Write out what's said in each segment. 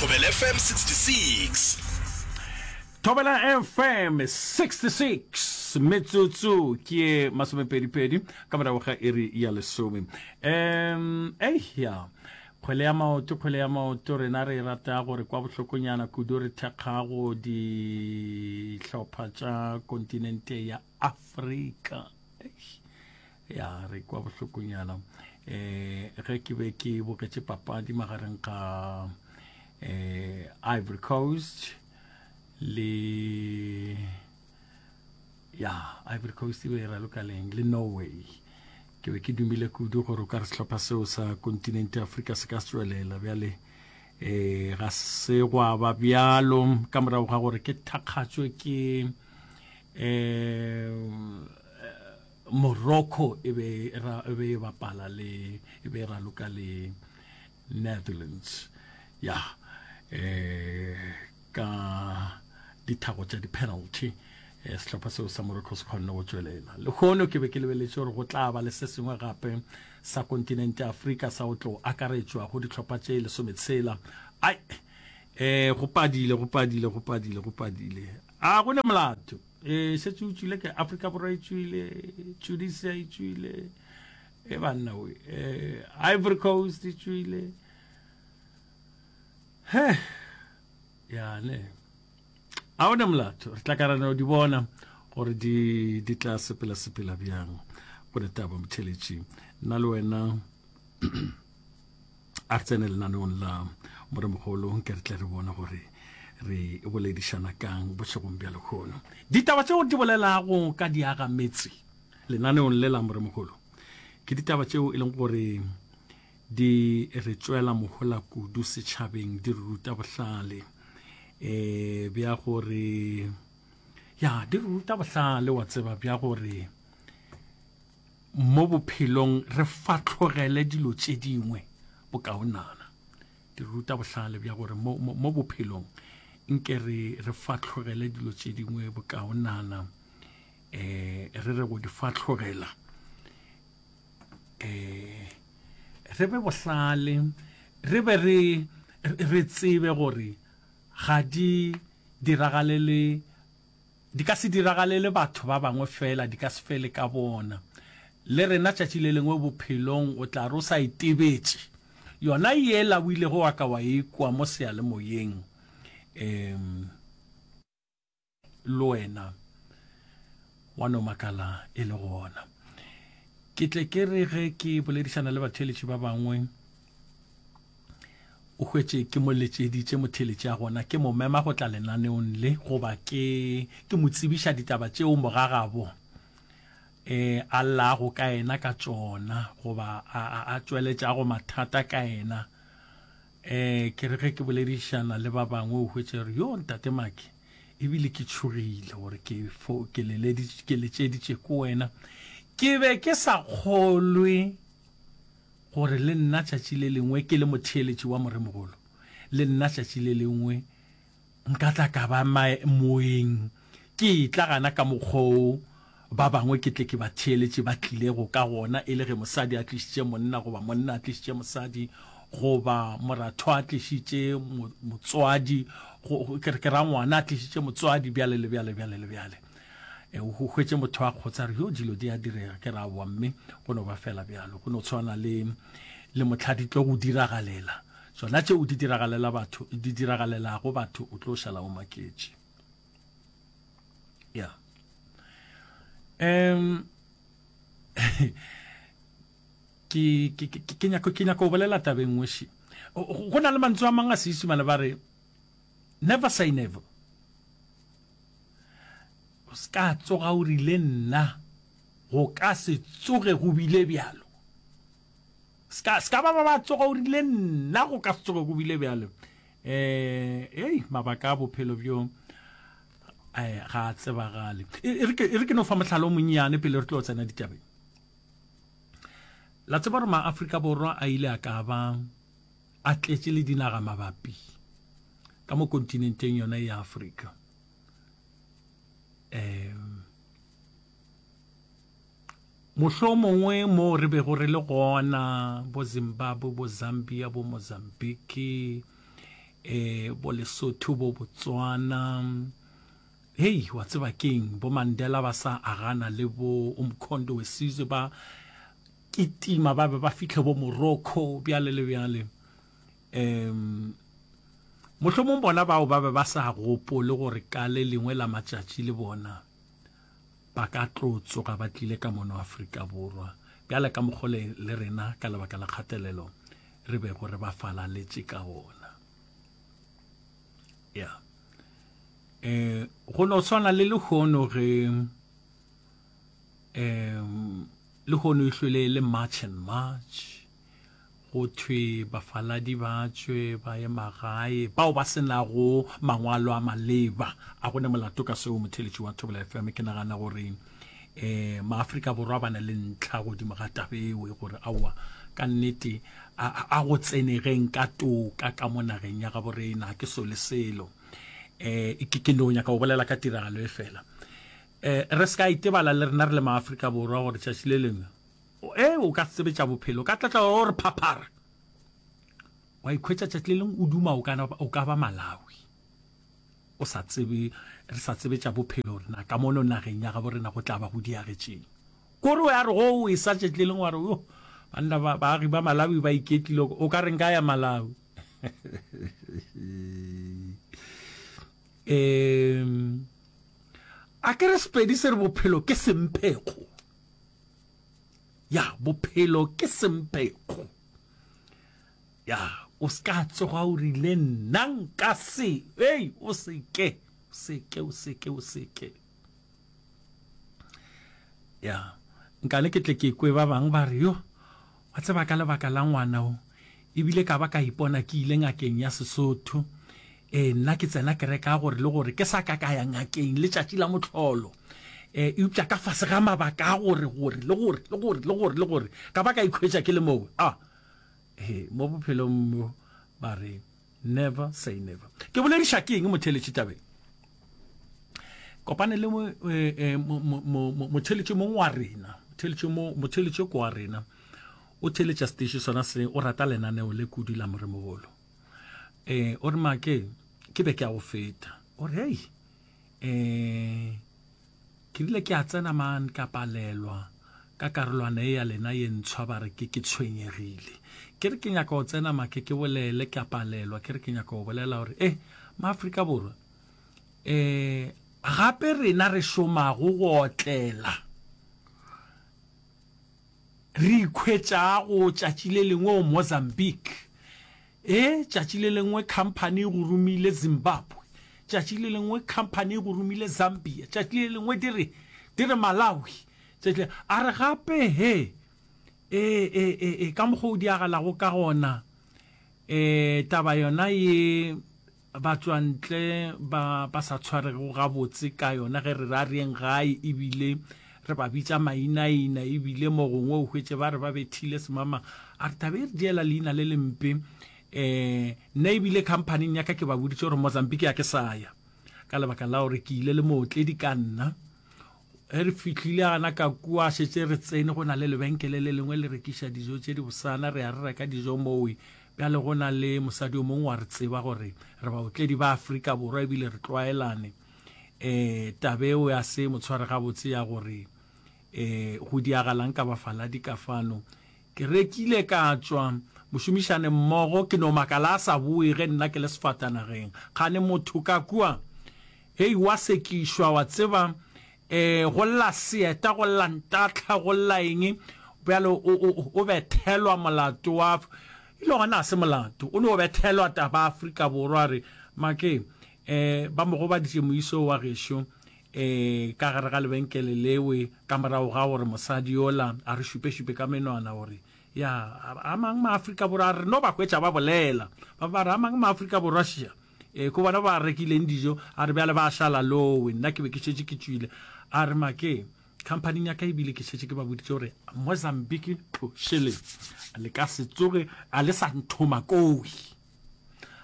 Thobela FM 66. Thobela FM 66 metsotso ke ye masomepedipedi ka morago ga iri ya lesome. Um ei ya kgwele ya maoto kgwele ya maoto rena re e rata gore kwa bohlokonyana kudu re thekgago dihlopha tša kontinente ya Afrika. Eish. Ya re kwa bohlokonyana um ge ke be ke bogetše papadi magareng ga um Ivory Coast le ya Ivory Coast e be e raloka leng le Norway ke be ke dumile kudu gore o ka re sehlopha seo sa kontinente ya Afrika se ka se tšwelela bjale um ga se gwa ba bjalo ka morago ga gore ke thakgatšwe ke um Morocco e be e be e bapala le e be e raloka le Netherlands ya eh ka dithago tša di-penalty eh, sehlopha seo sa Morocco se kgonne go tšwelela lehono ke be ke lebeletše gore go tla ba le se sengwe gape sa kontinente ya Afrika sa go tlo akaretšwa go dihlopha tše lesometshela ai eh go padile go padile go padile go padile a go ne molato e šetše o tšwile ke Afrika Borwa e tšwile Tunisia e tšwile e banna we eh, Ivory Coast e tšwile he yane a o ne molato re tla ka ra no di bona gore di di tla sepela sepela bjang go ne taba motheletši nna le wena A re tsene lenaneong la Moremogolo nke re tle re bone gore re boledišana kang bošegong bja lehono. Ditaba tšeo di bolelago ka diagametse lenaneong le la Moremogolo ke ditaba tšeo e leng gore di re tšwela mohola kudu setšhabeng, di re ruta bohlale um bja gore ya di re ruta bohlale wa tseba bja gore Mo bophelong re fahlogele dilo tše dingwe bokaonana. Di re ruta bohlale bja gore mo, mo, mo bophelong nke re, re fahlogele dilo tše dingwe bokaonana. Eh, re re go di fahlogela eh, re be bohlale, re be re, re tsebe gore ga di diragalele Di ka se diragalele batho ba bangwe feela, di ka se fele ka bona. Le rena tšatši le lengwe bophelong o tla re o sa itebetše, yona yela o ilego wa ka wa e kwa mo seyalemoyeng, um le wena wa no makala e le gona. Ke tle ke re ge ke boledišana le batheeletši ba bangwe, O hwetše ke mo letšeditše motheeletši a gona, ke mo mema go tla lenaneong le goba ke ke mo tsebiša ditaba tšeo mogagabo e a llago ka yena ka tšona goba a, a, a tšweletšago mathata ka yena. E, ke re ge ke boledišana le ba bangwe o hwetše re yo ntate Maki ebile ke tšhogile gore ke fo ke leleditše ke letšeditše ko wena ke be ke sa kgolwe Gore le nna tšatši le lengwe ke le motheeletši wa Moremogolo, le nna tšatši le lengwe nka tla ka ba moeng, ke etla gana ka mokgwa wo ba bangwe ke tle ke ba theeletše ba tlilego ka gona, e le ge mosadi a tlišitše monna, goba monna a tlišitše mosadi, goba moratho a tlišitše motswadi, ke re ke ra ngwana a tlišitše motswadi, bjale le bjale, bjale le bjale. E, o hwetše motho a kgotsa re yo dilo di a direga ke ra wa mme go no ba fela bjalo go no tshwana le le motlha di tlo go diragalela tsona tšeo di diragalela batho di diragalelago batho o tlo šala o maketše ya um ke ke ke nyako ke nyako bolela tabeng nngwe še go na le mantswe a mang a Seisemane ba re never say never O se ka tsoga o rile nna go ka se tsoge go bile bjalo. Se ka, se ka ba ba ba tsoga o rile nna go ka se tsoge go bile bjalo. Eh, ei, mabaka a bophelo bjo eh, ga a tsebagale. E, e re ke, e re ke no fa mohlala o monnyane pele re tlo tsena ditabeng. La tseba gore ma-Afrika Borwa a ile a ka ba a tletše le dinaga mabapi ka mo kontinenteng yona ya Afrika. Um mohlomongwe mo re bego re le gona bo Zimbabwe bo Zambia bo Mozambique Eh bo Lesotho bo Botswana. Hei wa tseba keng bo Mandela ba sa agana le bo Umkhonto weSizwe ba kitima ba be ba fihle bo Morocco bjale le bjale. Um mohlomong bona bao ba be ba sa gopole gore ka le lengwe la matšatši le bona ba ka tlo tsoga ba tlile ka mono Afrika Borwa bjale ka mokgwa le, le rena ka lebaka la kgatelelo re bego re ba falaletše ka gona. Ya. Eh go no swana le lehono ge um lehono e hlwele le March and March Go thwe bafaladi ba tšwe ba ye magae, bao ba se nago mangwalo a maleba. A go ne molato ka seo, motheeletši wa Thobela FM? Ke nagana gore um Maafrika Borwa ba na le ntlha godimo ga taba eo, gore aowa, ka nnete a, a go tsenegeng ka toka ka mo nageng ya gabo rena, ke sole selo. Um ke, ke no nyaka go bolela ka tiragalo e fela. Um re se ka itebala le rena re le Maafrika Borwa gore tšatši le lengwe E, o ka se tsebe tša bophelo, o ka tla tla o re phaphara, wa ikhwetša tšatši le lengwe o duma o ka, o ka ba Malawi. O sa tsebe, re sa tsebe tša bophelo rena ka mono nageng ya gabo rena go tla ba go diagetšeng. Kore o ya re go o e sa tšatši le lengwe wa re, yo, banna ba, baagi ba Malawi ba iketlile, o ka re nka ya Malawi. Um, a ke re Sepedi se re bophelo ke semphekgo. Ya, bophelo ke semphekgo. Ya, o se ka tsoga o rile nna nka se, ei, o se ke, o se ke, o se ke, o se ke. Ya, nkane ke tle ke kwe ba bangwe ba re, yo, wa tseba ka lebaka la ngwana o, ebile ka ba ka ipona ke ile ngakeng ya Sesotho. Ee, nna ke tsena kereke ya gore le gore ke sa ka ka ya ngakeng letšatši la mohlolo. E, eupša ka fase ga mabaka a gore, gore, le gore, le gore, le gore, le gore, ka ba ka ikhwetša ke le moo. A, he, mo bophelong mo, ba re, never say never. Ke bolediša ke eng motheeletši tabeng? Kopane le motheeletši mongwe wa rena, motheeletši mo, motheeletši ko wa rena, o theeletša station sona se, o rata lenaneo le kudu la Moremogolo. Eh, o re make, ke be ke a go feta. O re, hei, eh, ke rile ke a tsena man ka palelwa ka karolwana e ya lena ye ntshwa ba re ke ke tshwenyegile. Ke re ke nyaka go tsena make ke bolele ke a palelwa, ke re ke nyaka go bolela gore eh maAfrika Borwa eh gape rena re šomago go otlela re ikhwetšago tšatši le lengwe o Mozambique E, tšatši le lengwe khamphani e go romile Zimbabwe, tšatši le lengwe khamphani e go romile Zambia, tšatši le lengwe di re, di re Malawi, tšatši le, a re gape, he, e, e, e, e, ka mokgwa o diagalago ka gona, e, taba yona ye batšwantle ba, ba sa tshwaregego gabotse ka yona ge re re a re yeng gae, ebile re ba bitša mainaina, ebile mo gongwe o hwetše ba re ba bethile semama. A re taba e re diela leina le lempe. Um nna ebile khamphaning ya ka ke ba boditše gore Mozambique a ke sa ya ka lebaka la gore ke ile le mootledi ka nna. Ge re fihlile gana ka kua, šetše re tsene, go na le lebenkele le lengwe le rekiša dijo tše dibosana, re ya re reka dijo mowe. Bjale go na le mosadi o mongwe wa re tseba gore re baotledi ba Afrika Borwa ebile re tlwaelane. Um taba eo ya se mo tshware gabotse ya gore um go diagalang ka bafaladi ka fano. Ke rekile ka tšwa, mošomišane mmogo ke no makala a sa boe ge nna ke le sefatanageng. Kgane motho ka kua Hei, wa sekišwa, wa tseba, e, go lla seeta, go lla ntatlha, go lla eng, bjale o, o, o bethelwa molato wa, e le gona ga se molato, o no bethelwa taba Afrika Borwa, a re, Make, e, ba mo gobaditše moiso wa gešo, e, ka gare ga lebenkele lewe, ka morago ga gore mosadi yola a re šupešupe ka menwana gore, ya, a, a mang Maafrika Borwa, a re no ba hwetša ba bolela, ba ba re, a mang Maafrika Borwa, šia. Ee, ko bona ba rekileng dijo, a re bjale ba šala lowe, nna ke be ke šetše ke tšwile. A re make, khamphaning ya ka ebile ke šetše ke ba boditše gore Mozambique tlošele, le ka se tsoge a le sa nthoma kowi.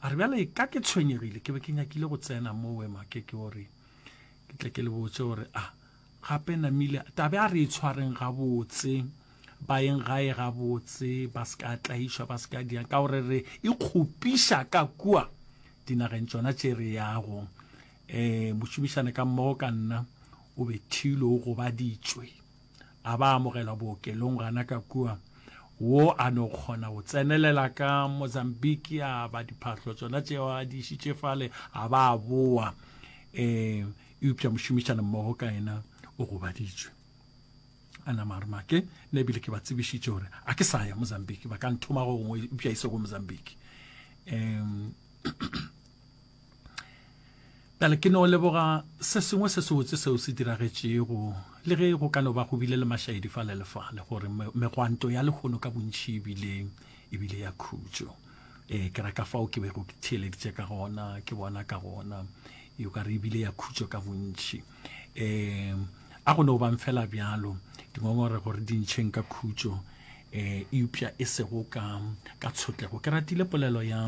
A re bjale ka ke tshwenyegile, ke be ke nyakile go tsena mowe make ke gore ke tle ke le botše gore a gape namile tabe a re e tshwareng gabotse ba yeng gae gabotse ba se ka tlaišwa ba se ka diang ka gore re ikgopiša ka kua. dinageng tšona tše re yago. Um mošomišane ka mmogo ka nna o bethilwe, o gobaditšwe, a ba amogelwa bookelong gana ka kua. Wo a no kgona go tsenelela ka Mozambique, a ba diphahlo tšona tšeo a di išitše fale, a ba a boa. Um eupša mošomišane mmogo ka yena o gobaditšwe. A nama a re make, nna ebile ke ba tsebišitše gore a ke sa ya Mozambique, ba ka nthoma go gongwe eupša e se go Mozambique. Um Bjale ke no leboga se sengwe se sebotse seo se diragetšego, le ge go ka no ba go bile le mašaedi fale le fale, gore megwanto ya lehono ka bontši e bile, e bile ya khutšo. E, ke ra ka fao ke bego ke theeleditše ka gona, ke bona ka gona, e o ka re e bile ya khutšo ka bontši. E, a go no bang fela bjalo, dingongorego re di ntšheng ka khutšo, e, eupša e sego ka, ka tshotlego. Ke ratile polelo ya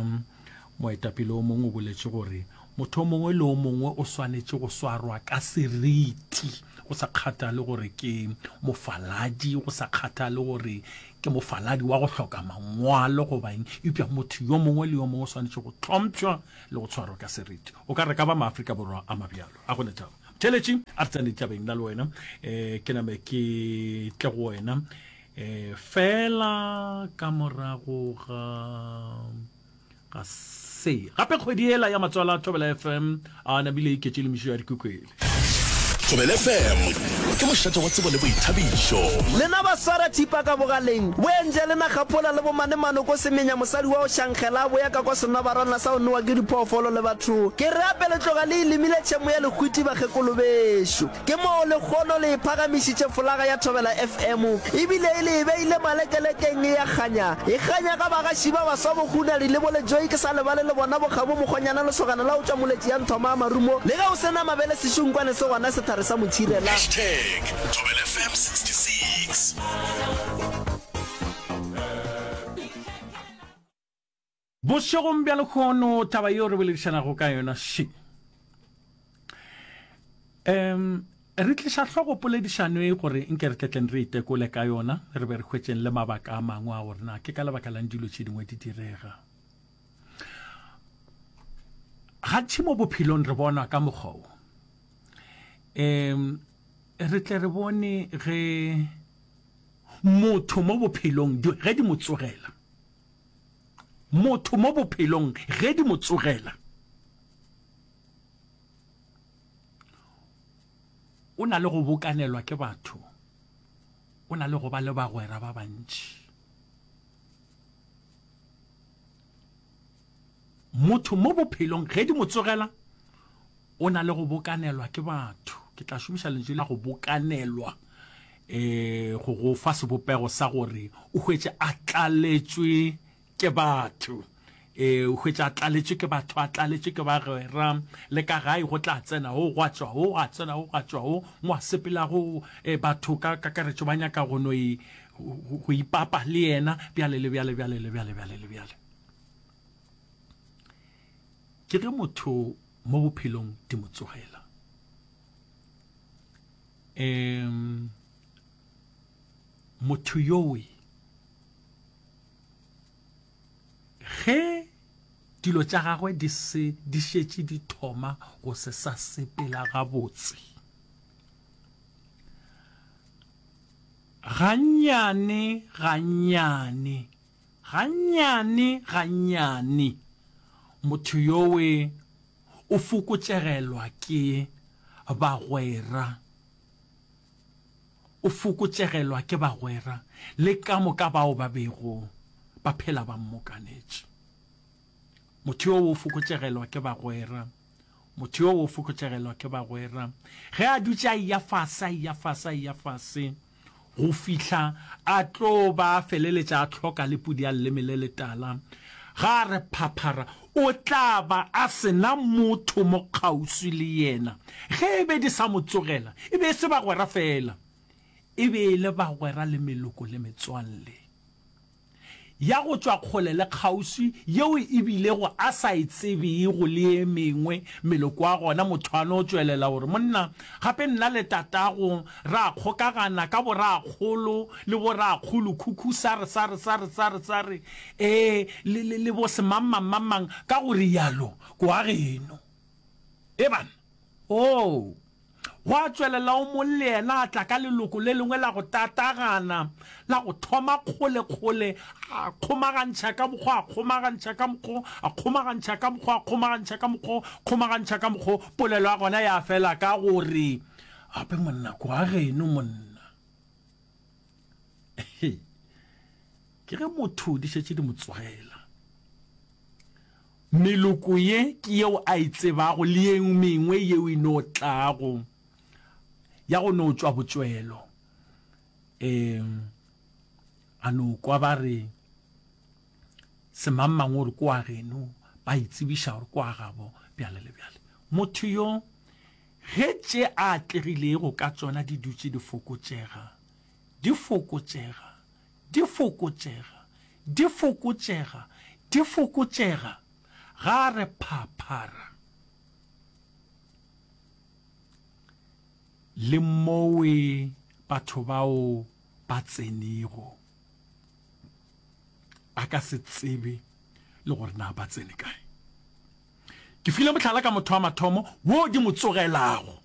Moetapele o mongwe o boletše gore motho o mongwe le o mongwe o swanetše go swarwa ka seriti, go sa kgathale gore ke mofaladi, go sa kgathale gore ke mofaladi wa go hloka mangwalo goba eng, eupša motho yo mongwe le yo mongwe o swanetše go hlompšwa le go tshwarwa ka seriti. O ka re ka ba Maafrika Borwa a mabjalo. A go ne taba. Motheeletši, a re tsene ditabeng nna le wena. Um ke name ke tle go wena um fela ka morago ga Ga se. Gape kgwedi yela ya matswalo a Thobela FM a namile e iketše le mešo ya dikwekwele. Thobela FM ke mošate wa tsebo le boithabišo. Lena ba swara thipa ka bogaleng, bo enje le na kgapola le bo mane manoko semenya mosadi wa go šankgela a boya ka kwa senobarwana sa go nowa ke diphoofolo le batho. Ke re ape le tloga le e lemile tšhemo ya lehwiti bakgekolo bešo. Ke moo lekgono le e phagamišitše folaga ya Thobela FM, ebile e le e beile malekelekeng e a kganya. E kganya ga bagaši ba baswa bo Hunadi le bo Lejoe ke sa lebale le bona bo Kgabo Mokgonyana lesogana la go tšwa Moletši ya Nthoma a Marumo le ge o se na mabele sešunkwane se gona sethare sa motšhirela. Hashtag Thobela FM 66. Bošegong bja lehono taba yeo re boledišanago ka yona še. Um re tliša hlogo poledišano e gore nke re tletleng re itekole ka yona re be re hwetšeng le mabaka a mangwe a gore na ke ka lebaka lang dilo tše dingwe di direga. Gantši mo bophelong re bona ka mokgwa wo. Um re tle re bone ge motho mo bophelong ge di mo tsogela Motho mo bophelong ge di mo tsogela, o na le go bokanelwa ke batho, o na le go ba le bagwera ba bantši. Motho mo bophelong ge di mo tsogela, o na le go bokanelwa ke batho. Ke tla šomiša lentšu la go bokanelwa um go go fa sebopego sa gore o hwetše a tlaletšwe ke batho. Um o hwetše a tlaletšwe ke batho, a tlaletšwe ke bagwera, le ka gae go tla tsena wo, gwa tšwa wo, gwa tsena wo, gwa tšwa wo, mo a sepelago um batho ka kakaretšo ba nyaka go no go ipapa le yena, bjale le bjale, bjale le bjale, bjale le bjale. Ke ge motho mo bophelong di mo tsogela. Um motho yowe ge dilo tša gagwe di se di šetše di thoma go se sa sepela gabotse gannyane gannyane gannyane gannyane motho yowe o fokotšegelwa ke bagwera, o fokotšegelwa ke bagwera le ka moka bao ba bego ba phela ba mmokanetše. Motho yoo o fokotšegelwa ke bagwera, motho yoo o fokotšegelwa ke bagwera. Ge a dutše a eya fase, a eya fase, a eya fase, go fihla a tlo ba a feleletša a hloka le pudi ya leleme le letala. Ga a re phaphara, o tla ba a se na motho mo kgauswi le yena. Ge e be di sa mo tsogela, e be e se bagwera feela, e be e le bagwera le meloko le metswalle. ya go tšwa kgole le kgauswi yeo e bilego a sa e tsebego le ye mengwe meloko ya gona, motho a no tšwelela gore, Monna, gape nna le tatago ra kgokagana ka borakgolo le borakgolokhukhu sare, sare, sare, sare, sare, ee, le, le, le bo semangmangmangmang, ka go rialo, kwa geno. E banna. Oo! Gwa tšwelela o mong le yena a tla ka leloko le lengwe la go tatagana, la go thoma kgolekgole, a kgomagantšha ka mokgo, a kgomagantšha ka mokgo, a kgomagantšha ka mokgo, a kgomagantšha ka mokgo, kgomagantšha ka mokgo, polelo ya gona ya fela ka go re, Gape monna, kwa geno monna. Ke ge motho di šetše di mo tsogela. Meloko ye ke yeo a e tsebago le ye mengwe yeo e no tlago ya go no tšwa botšwelo. E, a no kwa ba re semangmang o re ko wa geno, ba itsebiša gore ko wa gabo, bjale le bjale. Motho yo, ge tše a atlegilego ka tšona di dutše di fokotšega, di fokotšega, Di fokotšega, di fokotšega, di fokotšega, ga a re phaphara. Le mowe batho bao ba tsenego, a ka se tsebe le gore na ba tsene kae. Ke file mohlala ka motho wa mathomo wo di mo tsogelago.